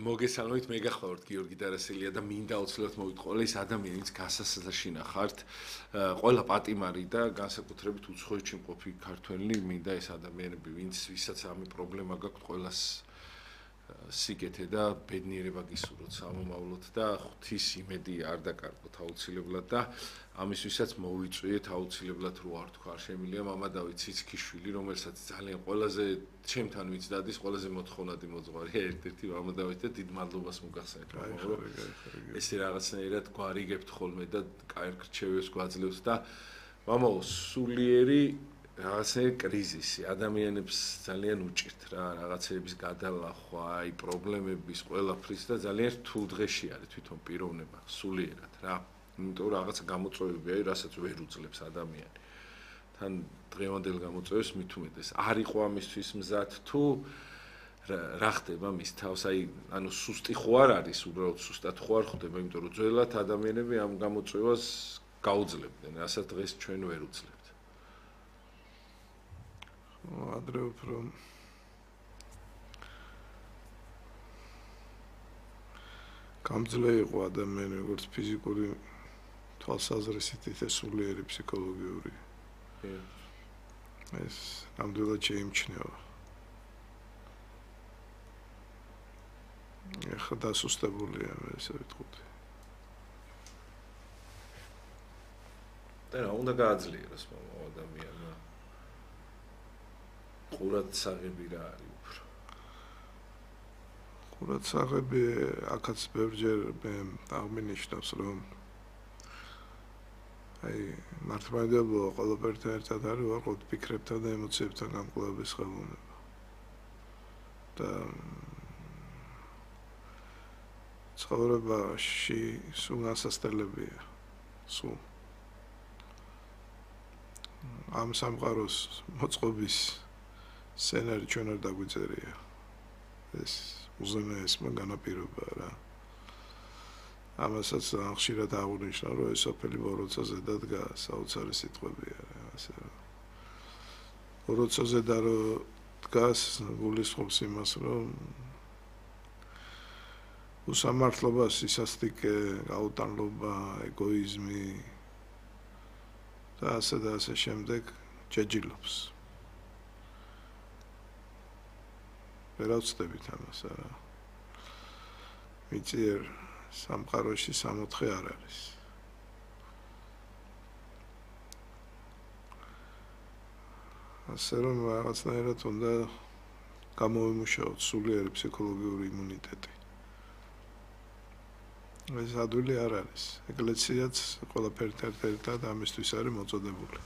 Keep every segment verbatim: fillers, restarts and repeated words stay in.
მოგესალმებით, მე გახლავართ გიორგი დარასელია და მინდა აუცილებლად მოვიტყოლა ის ადამიანიც გასასაშინა ხართ, ყველა პატიმარი და განსაკუთრებით უცხოეთში მყოფი ქართველი, მინდა ეს ადამიანები, ვინც ვისაც ამი პრობლემა გაქვთ, ყველას სიკეთე და ბედნიერება გისურვოთ სამომავლოდ და ღვთის იმედი არ დაკარგოთ აუცილებლად და ამისთვისაც მოვიწვიეთ აუცილებლად რო არ თქვა, შემიძლია მამა დავით ციცქიშვილი, რომელსაც ძალიან ყველაზე ჩემთან ვიც დადის, ყველაზე მოთხოვნადი მოძღვარია ერთ-ერთი მამა დავით და დიდ მადლობას მოგახსენებთ, რომ ესე რაღაცნაირად გვარიგებთ ხოლმე და კაი რჩევებს გვაძლევთ და მამაო, სულიერი რაღაცნაირი კრიზისი, ადამიანებს ძალიან უჭირთ რა, რაღაცების გადალახვა, აი პრობლემების ყველაფრის და ძალიან რთულ დღეში არის თვითონ პიროვნება, სულიერად რა. იმიტომ რომ რაღაცა გამოწვევები არის, რასაც ვერ უძლებს ადამიანი. თან დღევანდელ გამოწვევებს მით უმეტეს არ იყო ამისთვის მზად თუ რა ხდება მის თავს, აი ანუ სუსტი ხო არ არის, უბრალოდ სუსტად ხო არ ხდება, იმიტომ რომ ძველად ადამიანები ამ გამოწვევას გაუძლებდნენ, რასაც დღეს ჩვენ ვერ უძლებთ. ადრე უფრო გამძლე იყო ადამიანი როგორც ფიზიკური თვალსაზრისით ისე სულიერი ფსიქოლოგიური ეს ნამდვილად შეიმჩნევა ეხლა დასუსტებულია ესე ვიტყოდი და რა უნდა გააძლიეროს ადამიანმა ყურადსაღები რა არის უფრო ყურადსაღები აქაც ბევრჯერ მე აღმინიშნავს რომ აი მართლმადიდებლობა ყველაფერთან ერთად არის ვარყოფთ ფიქრებთან და ემოციებთან გამკლავების ხელოვნება და ცხოვრებაში სულ ასასტელებია სულ ამ სამყაროს მოწყობის სცენარი ჩვენ არ დაგვიწერია ეს უზენაესმა განაპირობა რა ამასაც ხშირად აღნიშნა რომ ეს სოფელი ბოროცაზე დადგა საოცარი სიტყვებია რა ასე ბოროცაზე და რომ დგას გულისხმობს იმას რომ უსამართლობა სისასტიკე გაუტანლობა ეგოიზმი და ასე და ასე შემდეგ ჯეჯილობს ვერავწდებით ამას არა მიწიერ სამყაროში სამოთხე არ არის ასე რომ რაღაცნაირად უნდა გამოვიმუშაოთ სულიერი ფსიქოლოგიური იმუნიტეტი ეს ადვილი არ არის ეკლესიაც ყველაფერთან ერთად ამისთვის არის მოწოდებული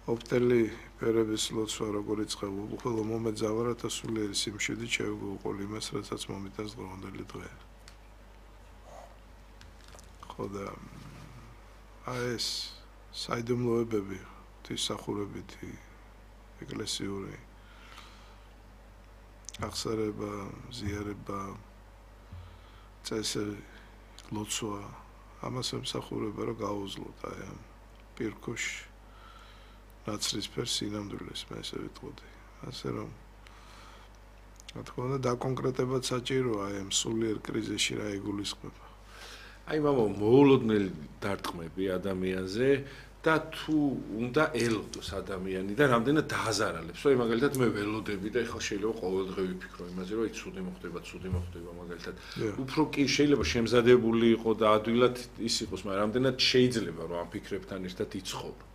ოპტელი ფერების ლოცვა როგორიც ხდება, ხოლო მომეძავა რათა სულიერი სიმშვიდით შევგუყოლ იმას, რასაც მომიტანს დღევანდელი დღე. ხო და აი ეს საიდუმლოებები, თვისახურებითი, ეკლესიური აღსარება, ზიარება, წესი, ლოცვა, ამას ემსახურება, რომ გაუძლოთ აი ამ პირქუშ ნაცრისფერ სინამდვილეს მე ესე ვიტყოდი. ასე რომ რა თქმა უნდა დაკონკრეტებად საჭიროა აი ამ სულიერ კრიზისში რა იგულისხმება. აი მამა მოულოდნელი დარტყმები ადამიანზე და თუ უნდა ელოდოს ადამიანი და რამდენად დააზარალებს. აი მაგალითად მე ველოდები და ეხლა შეიძლება ყოველდღე ვიფიქრო იმაზე რომ აი ცუდი მოხდება, ცუდი მოხდება მაგალითად. უფრო კი შეიძლება შემზადებული იყო და ადვილად ის იყოს, მაგრამ რამდენად შეიძლება რომ ამ ფიქრებთან ერთად იცხოვრო.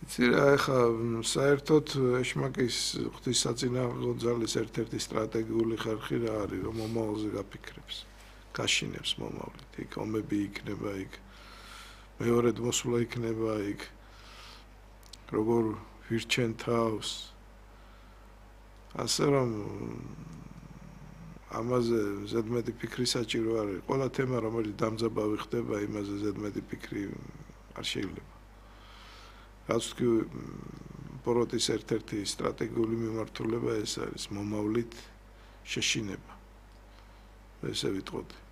იცი რა ეხლა საერთოდ ეშმაკის ღვთისაწინააღმდეგო ძალის ერთ-ერთი სტრატეგიული ხერხი რა არის რომ მომავალზე გაფიქრებს გაშინებს მომავლით იქ ომები იქნება იქ მეორედ მოსვლა იქნება იქ როგორ ვირჩენ თავს ასე რომ ამაზე ზედმეტი ფიქრი საჭირო არის ყველა თემა რომელიც დამძაბავი ხდება იმაზე ზედმეტი ფიქრი არ შეიძლება რაც თქვი ბოროტის ერთ-ერთი სტრატეგიული მიმართულება ეს არის მომავლით შეშინება ესე ვიტყოდი